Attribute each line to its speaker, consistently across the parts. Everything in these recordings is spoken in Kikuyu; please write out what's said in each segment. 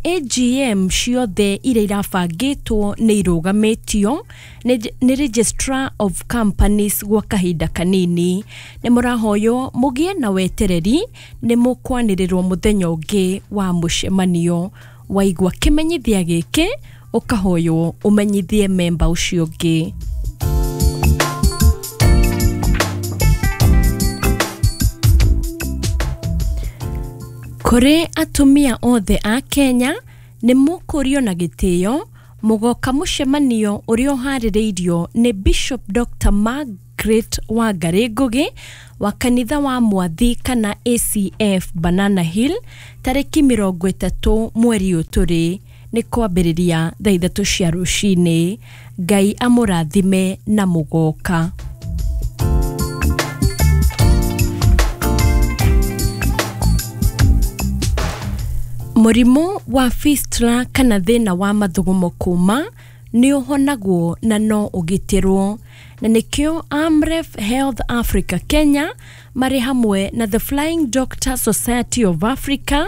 Speaker 1: AGM ciothe iria irabangĩtwo nĩ irũgamĩtio nĩ Registrar of Companies gwa kahinda kanini. Nĩ mũrahoywo mũgĩe na wetereri, nĩ mũkwanĩrĩrwo mũthenya ũngĩ wa mũcemanio. Waigua kĩmenyithia gĩkĩ, ũkahoywo ũmenyithie memba ũcio ũngĩ. Kũrĩ atumia othe a Kenya, nĩ mũkũrio na gĩtĩo mũgoka mũcemanio ũrĩa ũharĩrĩirio nĩ Bishop Dr. Margaret Wangari Ngugi wa kanitha wa Mwathi kana ACF Banana Hill, tarĩki 30 mweri ũyũ tũrĩ, nĩ kwambĩrĩria thaa 3 cia rũcinĩ. Ngai amũrathime na mũgoka. Mũrimũ wa fistula kana thĩna wa mathugumo kuma nĩ ũhonagwo na no ũgitĩrwo, na nĩkĩo Amref Health Africa Kenya marĩ hamwe na The Flying Doctor Society of Africa,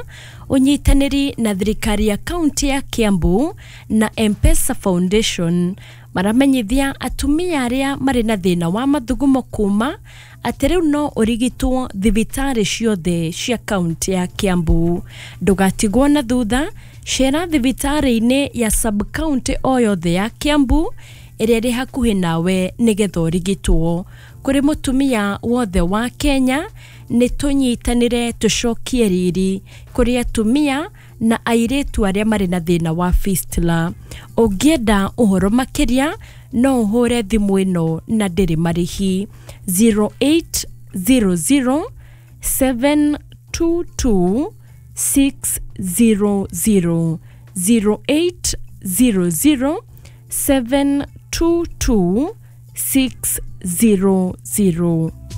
Speaker 1: ũnyitanĩri na thirikari ya kaunti ya Kiambu na M-Pesa Foundation, maramenyithia atumia arĩa marĩ na thĩna wa mathugumo kuma atĩ rĩu no ũrigitwo thibitarĩ ciothe cia kaunti ya Kiambu. Ndũgatigwo na thutha, cera thibitarĩ-inĩ ya sub county o yothe ya Kiambu ĩrĩa ĩrĩ hakuhĩ nawe nĩgetha ũrigitwo. Kũrĩ mũtumia wothe wa Kenya, nĩ tũnyitanĩre tũcokie riri kũrĩ atumia na airĩtu arĩa marĩ na thĩna wa fistula. Ũngĩenda ũhoro makĩria, no ũhũre thimũ ĩno na ndĩrĩ marĩhi, 0800 722 600, 0800 722 600.